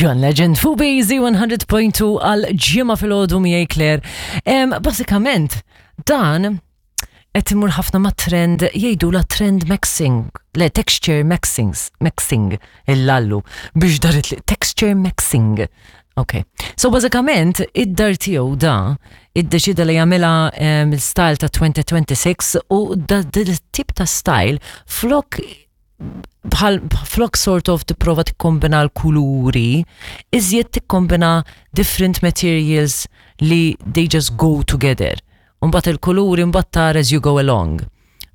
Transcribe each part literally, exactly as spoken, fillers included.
John Legend fuq B Z one hundred point two għal Ġimgħa filgħodu miegħi Claire. Em, Basikament, dan qed imur ħafna ma' trend, jgħidu la trend maxing, le texture maxing, maxing, il-lallu, biex darit li texture maxing. Ok. So bażikament id-dar tiegħu da iddeċida li jagħmilha um, il-style ta' twenty twenty-six u da tip ta' style flok bħal flok sort of tipprova tikkombina l-kuluri, iżjed tikkombina different materials li they just go together. Mbagħad il-kuluri mbagħad tara as you go along.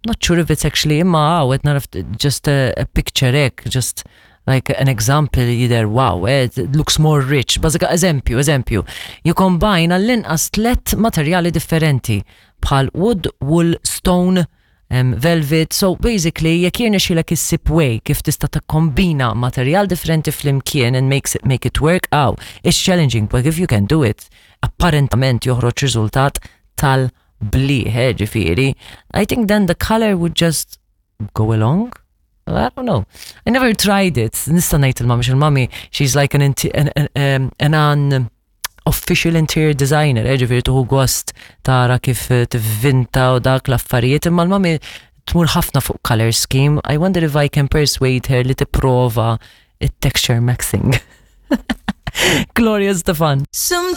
Not sure if it's actually, imma għaw, qed naraf just a, a picture ek, just like an example either, wow, eh, it looks more rich. Bażika, eżempju, eżempju, you combine għall-inqas tlet materjali differenti bħal wood, wool, stone, um, velvet. So basically, jekk jirnexxilek issib way kif tista' tikkombina materjal differenti flimkien and makes it, make it work out, it's challenging, but if you can do it, apparentament joħroġ riżultat tal-bliħ, eh, ġifieri. I think then the color would just go along. I don't know. I never tried it. Nista' ngħid il-mami, il-mami, she's like an, an, an, um, an, an official interior designer, eh, ġifieri tieħu gost tara kif tivvinta u dak l-affarijiet, imma l-mami tmur ħafna fuq color scheme. I wonder if I can persuade her li tipprova it-texture maxing. Gloria Estefan. Sometimes